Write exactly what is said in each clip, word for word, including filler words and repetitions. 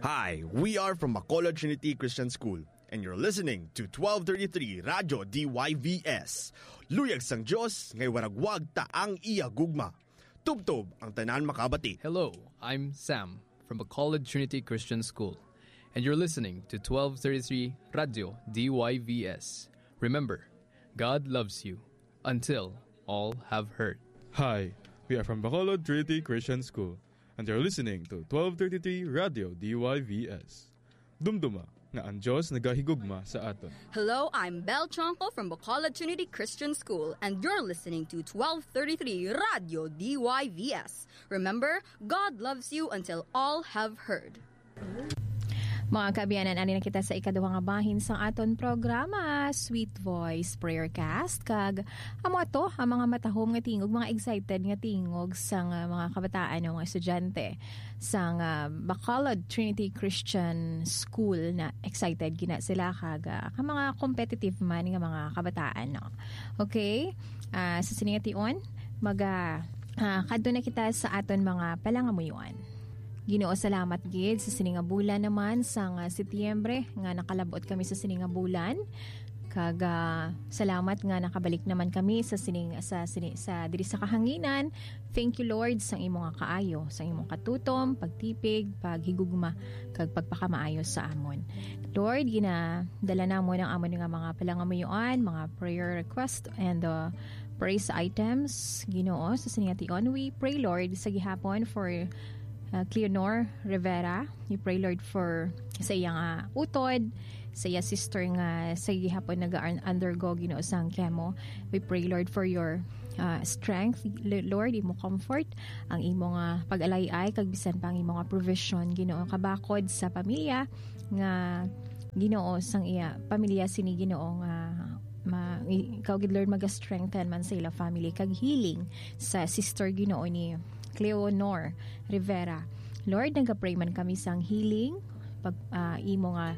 Hi, we are from Bacolod Trinity Christian School, and you're listening to twelve thirty-three Radyo D Y V S. Luyag sang Dios, ngay waragwag ta ang iya gugma. Tubtob ang tanan makabati. Hello, I'm Sam from Bacolod Trinity Christian School, and you're listening to twelve thirty-three Radyo D Y V S. Remember, God loves you until all have heard. Hi, we are from Bacolod Trinity Christian School, and you're listening to twelve thirty-three Radyo D Y V S. Dumduma nga ang Dios nagahigugma sa aton. Hello, I'm Belle Chonco from Bacolod Trinity Christian School, and you're listening to twelve thirty-three Radyo D Y V S. Remember, God loves you until all have heard. Mga kaabyanan, ani na kita sa ikaduha nga bahin sa aton programa, Sweet Voice Prayer Cast. Kag amo ato ang mga matahom nga tingog, mga excited nga tingog sang, ah, mga kabataan o mga estudyante sang, ah, Bacolod Trinity Christian School, na excited gina sila kag, ah, ka mga competitive man nga mga kabataan, no? Okay? Ah, sa sini nga tion, maga, ah, kadto na kita sa aton mga palangamuyoan. Ginoo, salamat gid sa sini nga bulan naman sang, ah, Setyembre nga nakalabot kami sa sini nga bulan. Kag, ah, salamat nga nakabalik naman kami sa sining, sa sini, sa diri sa kahanginan. Thank you, Lord, sang imo nga kaayo, sang imong katutom, pagtipig, paghigugma, kag pagpakamaayo sa amon. Lord, ginadala namon ang amon nga mga palangamuyoan, mga prayer request, and, uh, praise items. Ginoo, sa sini nga tion, we pray, Lord, sa gihapon for, uh, Cleonor Rivera. We pray, Lord, for sa iya nga utod, sa iya sister nga sa gihapon naga-undergo, Ginoo, sang chemo. We pray, Lord, for your, uh, strength, L-, Lord, imo comfort, ang imo nga pag-alayay, kag bisan pa ang imo nga provision, Ginoo, kabakod sa pamilya nga, Ginoo, sang iya pamilya sini, Ginoo, nga ma-, i-, ikaw gid, Lord, maga-strengthen man sa ila family, kag healing sa sister, Ginoo, ni Cleonor Rivera. Lord, nagapray man kami sang healing, pag, ah, imo nga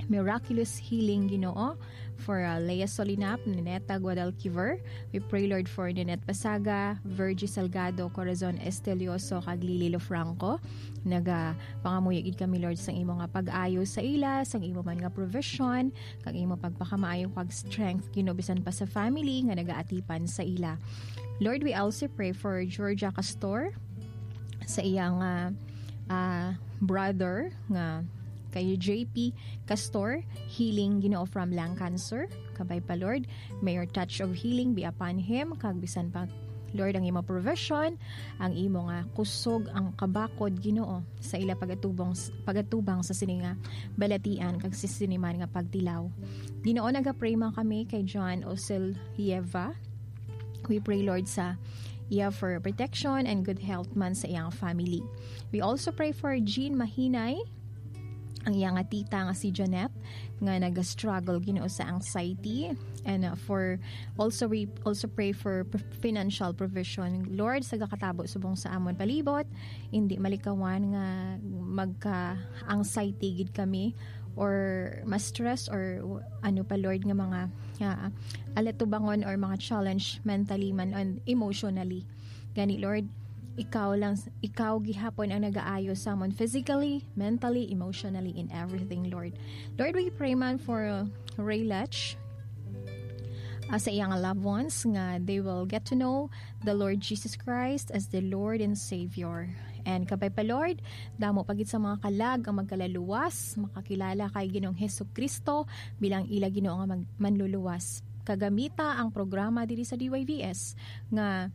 miraculous healing, Ginoo, for, ah, Lea Solinap, Nineta Guadalquiver. We pray, Lord, for Ninette Pasaga, Virgie Salgado, Corazon Estelioso, kag Lily Lofranco. Nagapangamuyo gid kami, Lord, sang imo nga pag-ayo sa ila, sang imo man nga provision, kag imo pagpakamaayo kag strength, Ginoo, bisan pa sa family nga nagaatipan sa ila. Lord, we also pray for Georgia Castor, sa iyang, ah, ah, brother nga kay J P Castor, healing, Ginoo, from lung cancer. Kabay pa, Lord, may your touch of healing be upon him, kag bisan pa, Lord, ang imo provision, ang imo nga kusog, ang kabakod, Ginoo, sa ila pagatubong, pagatubang sa sini nga balatian kag sa sini man nga pagtilaw. Ginoo, nagapray man kami kay John Oselieva. We pray, Lord, sa iya for protection and good health man sa iyang family. We also pray for Jean Mahinay, ang iya nga tita nga si Janet, nga nag-struggle, Ginoo, sa anxiety. And, uh, for, also, we also pray for p-, financial provision. Lord, sa gakatabo subong sa amon palibot, hindi malikawan nga magka-anxiety gid kami or ma-stress or ano pa, Lord, nga mga, ah, alatubangon or mga challenge mentally man and emotionally. Gani, Lord, ikaw lang, ikaw gihapon ang nagaayo sa amon physically, mentally, emotionally, in everything, Lord. Lord, we pray man for, uh, Ray Lech, uh, sa iyang loved ones nga they will get to know the Lord Jesus Christ as the Lord and Savior. And kabay pa, Lord, damo pa gid sa mga kalag ang magkalaluwas, makakilala kay Ginoong Hesukristo bilang ila Ginoo nga mag-, manluluwas. Kagamita ang programa diri sa D Y V S nga,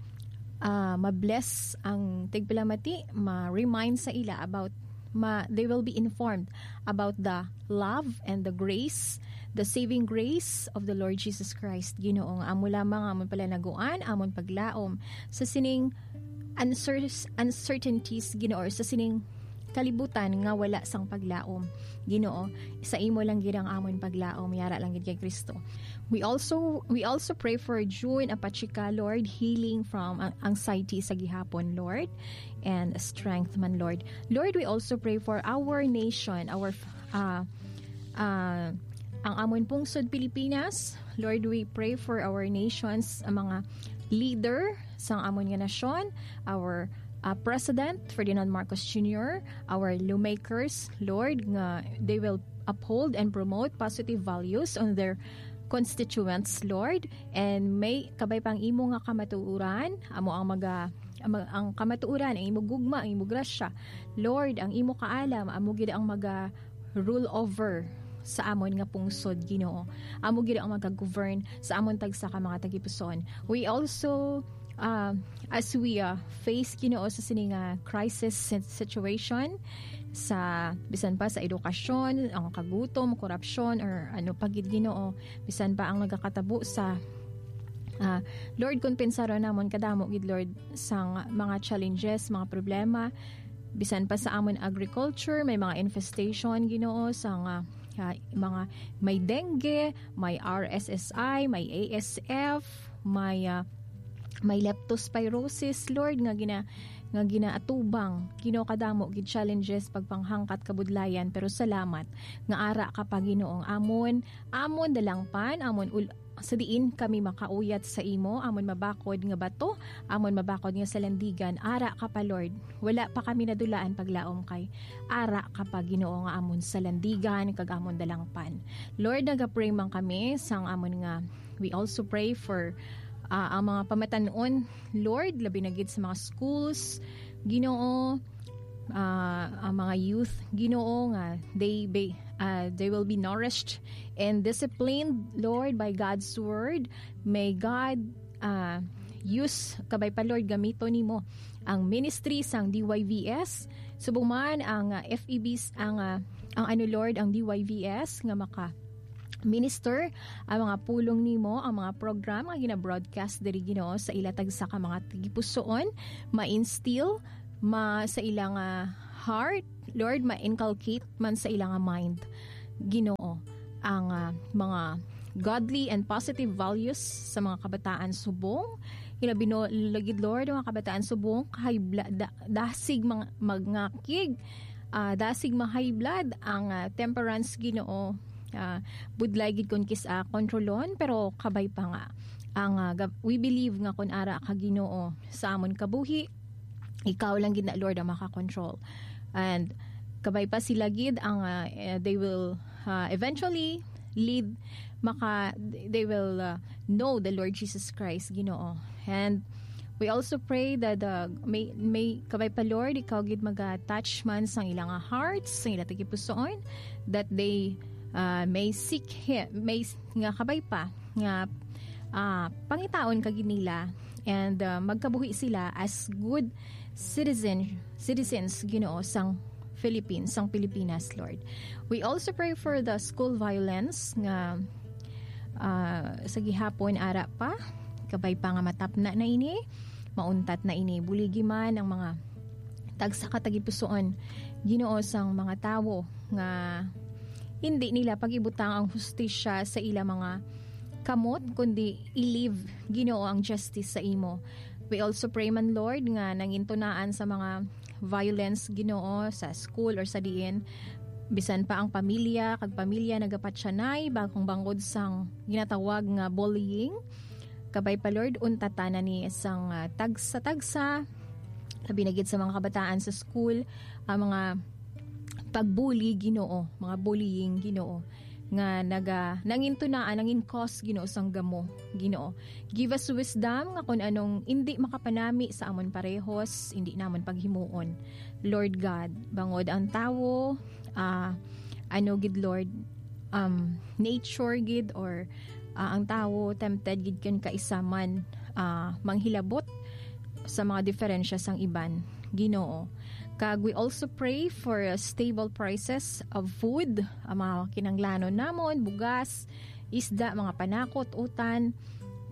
ah, ma-bless ang tigpalamati, ma-remind sa ila about, ma-, they will be informed about the love and the grace, the saving grace of the Lord Jesus Christ. Ginoo, nga amo lamang amon palanaguan, amon paglaom sa sining uncer-, uncertainties, Ginoo, or sa sining kalibutan nga wala sang paglaom. Ginoo, sa imo lang gid ang amon paglaom, yara lang gid kay Kristo. We also, we also pray for June Apachika, Lord, healing from an-, anxiety sa gihapon, Lord, and strength man, Lord. Lord, we also pray for our nation, our, uh, uh, ang amon pungsod Pilipinas. Lord, we pray for our nations, ang mga leader sang amon nga nasyon, our, uh, President Ferdinand Marcos Junior, our lawmakers, Lord, nga they will uphold and promote positive values on their constituents, Lord, and may kabay pang imo nga kamatuoran, amo ang maga ang, ang kamatuoran, ang imo gugma, ang imo grasya, Lord, ang imo kaalam, amo gid ang maga rule over sa amon nga pungsod, Ginoo. Amo gid ang maga-govern sa amon tagsa ka mga tagipusoon. We also, uh, as we, uh, face, Ginoo, sa sini nga crisis sit-, situation, sa bisan pa sa edukasyon, ang kagutom, korupsyon, or ano pa gid, Ginoo, bisan pa ang nagakatabo sa, ah, Lord, kon pensaron namon kadamo gid, Lord, sang mga challenges, mga problema, bisan pa sa amon agriculture, may mga infestation, Ginoo, sang, ah, ah, mga may dengue, may R S S I, may A S F, may, ah, may leptospirosis, Lord, nga gina-, nga ginaatubang, Ginoo, kadamo gid challenges, pagpanghangkat, kabudlayan, pero salamat nga ara ka pa, Ginoo, ang amon, amon dalangpan, amon ul-, sa diin kami makauyat sa imo, amon mabakod nga bato, amon mabakod nga salandigan, ara ka pa, Lord. Wala pa kami nadulaan paglaom kay ara ka pa, Ginoo, nga amon salandigan kag amon dalangpan. Lord, nagapray man kami sang amon nga, we also pray for, ah, ang mga pamatan-on, Lord, labi na gid sa mga schools, Ginoo, ah, ang mga youth, Ginoo, nga they be, ah, they will be nourished and disciplined, Lord, by God's word. May God, ah, use, kabay pa, Lord, gamito nimo ang ministry sang D Y V S, subong man ang, ah, F E Bs, ang, ah, ang ano, Lord, ang D Y V S nga maka minister ang mga pulong nimo, ang mga program nga gina-broadcast diri, Ginoo, sa ila tagsa ka mga tagipusoon, ma-instill ma sa ila nga heart, Lord, ma-inculcate man sa ila nga mind, Ginoo, ang, ah, mga godly and positive values sa mga kabataan subong. Ilabi na gid, Lord, ang mga kabataan subong, kahibla-, da-, dasig mga magngakig, ah, dasig ma-high blood, ang, ah, temperance, Ginoo, ah, budlay gid kon kis-, ah, kontrolon, pero kabay pa nga. Ang, ah, gab-, we believe nga kon ara ka, Ginoo, sa amon kabuhi, ikaw lang gid na, Lord, ang makakontrol. And kabay pa sila gid ang, ah, eh, they will, ah, eventually lead, maka, they will, ah, know the Lord Jesus Christ, Ginoo. And we also pray that, uh, may, may kabay pa, Lord, ikaw gid maga-touch man sang ilang hearts, sang ilang tagipusoon, that they, uh, may seek Him, may s-, nga kabay pa, nga, uh, pangitaon ka gid nila, and, uh, magkabuhi sila as good citizen, citizens, Ginoo, sang Philippines, sang Pilipinas, Lord. We also pray for the school violence nga, ah, sa gihapon ara pa, kabay pa nga matapna na ini, mauntat na ini. Buligi man ang mga tagsa ka tagipusoon, Ginoo, sang mga tawo nga hindi nila pag-ibutang ang hustisya sa ila mga kamot, kundi i-leave, Ginoo, ang justice sa imo. We also pray man, Lord, nga nangintunaan sa mga violence, Ginoo, sa school or sa diin, bisan pa ang pamilya kag pamilya nagapatyanay bangod sang ginatawag nga bullying. Kabay pa, Lord, untatan na ni sang, ah, tagsa-tagsa, labi na gid sa mga kabataan sa school, ang mga pagbuli, Ginoo, mga bullying, Ginoo, nga naga-, nangintunaan, nangin-cause, Ginoo, sang gamo, Ginoo. Give us wisdom nga kung anong indi makapanami sa amon parehos, indi namon paghimuon. Lord God, bangod ang tawo, ah, ano gid, Lord, um, nature gid, or, ah, ang tawo tempted gid kan kaisa man, ah, manghilabot sa mga diferensya sang iban, Ginoo. Kag we also pray for, uh, stable prices of food, ang mga kinanglanon namon, bugas, isda, mga panakot, utan,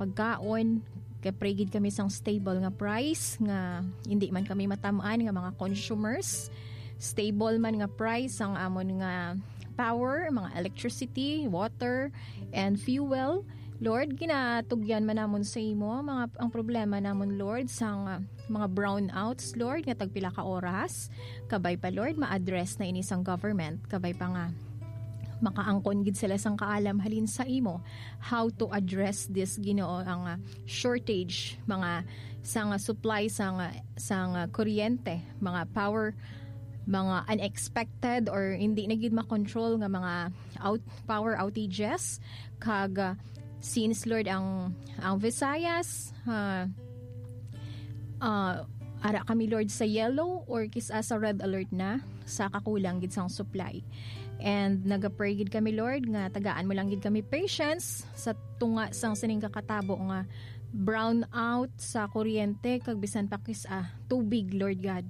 pagkaon. Kay pray gid kami sang stable nga price nga hindi man kami matam-an nga mga consumers. Stable man nga price ang amon nga power, mga electricity, water, and fuel. Lord, ginatugyan man namon sa imo ang mga, ang problema namon, Lord, sang, ah, mga brownouts, Lord, nga tagpila ka oras. Kabay pa, Lord, ma-address na ini sang government. Kabay pa nga makaangkon gid sila sang kaalam halin sa imo, how to address this, Ginoo, ang, ah, shortage, mga sang, ah, supply sang, ah, sang, ah, kuryente, mga power, mga unexpected or hindi na gid makontrol nga mga out-, power outages, kag, ah, since, Lord, ang, ang Visayas, ah, ah, ara kami, Lord, sa yellow or kis-a sa red alert na sa kakulang gid sang supply. And nagapray gid kami, Lord, nga tagaan mo lang gid kami patience sa tunga sang sining kakatabo nga brownout sa kuryente kag bisan pa kis-a tubig, Lord God.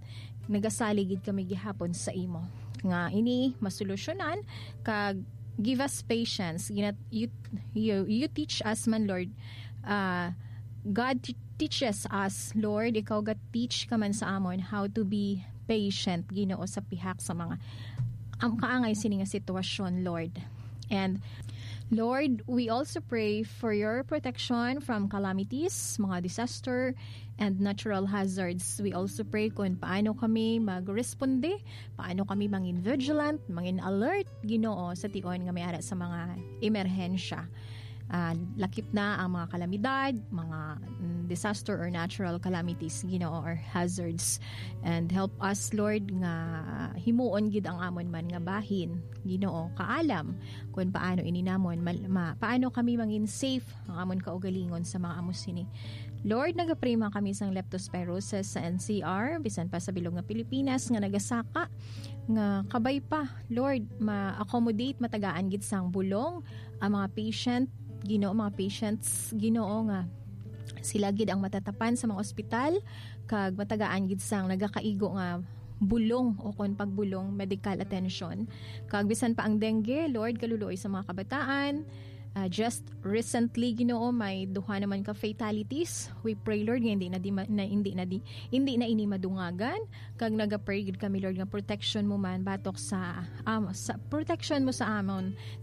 Nagasalig gid kami gihapon sa imo nga ini masolusyonan, kag give us patience. Ginat-, you, you, you teach us man, Lord. Ah, God t-, teaches us, Lord. Ikaw ga-teach ka man sa amon how to be patient, Ginoo, sa pihak sa mga ang kaangay sini nga sitwasyon, Lord. And Lord, we also pray for your protection from calamities, mga disaster, and natural hazards. We also pray kung paano kami magresponde, paano kami mangin vigilant, mangin alert, Ginoo, sa tion nga may ara sa mga emerhensya. Ah, lakip na ang mga kalamidad, mga, mm, disaster or natural calamities, Ginoo, or hazards. And help us, Lord, nga himuon gid ang amon man nga bahin, Ginoo, kaalam kung paano ini namon mal-, ma-, paano kami mangin safe ang amon kaugalingon sa mga amo sini. Lord, nagapray man kami sang leptospirosis sa N C R, bisan pa sa bilog nga Pilipinas nga nagasaka nga kabay pa, Lord, ma-accommodate, matagaan gid sang bulong ang mga patient, Ginoo, mga patients, Ginoo, nga sila gid ang matatapan sa mga ospital, kag matagaan gid sang nagakaigo nga bulong o kon pagbulong, medical attention. Kag bisan pa ang dengue, Lord, kaluluoy sa mga kabataan. Ah, just recently, Ginoo, may duha naman ka fatalities. We pray, Lord, nga hindi na di ma-, na, hindi na di, hindi na ini madungagan. Kag nagapray gid kami, Lord, nga protection mo man batok sa, um, sa protection mo sa amon, sa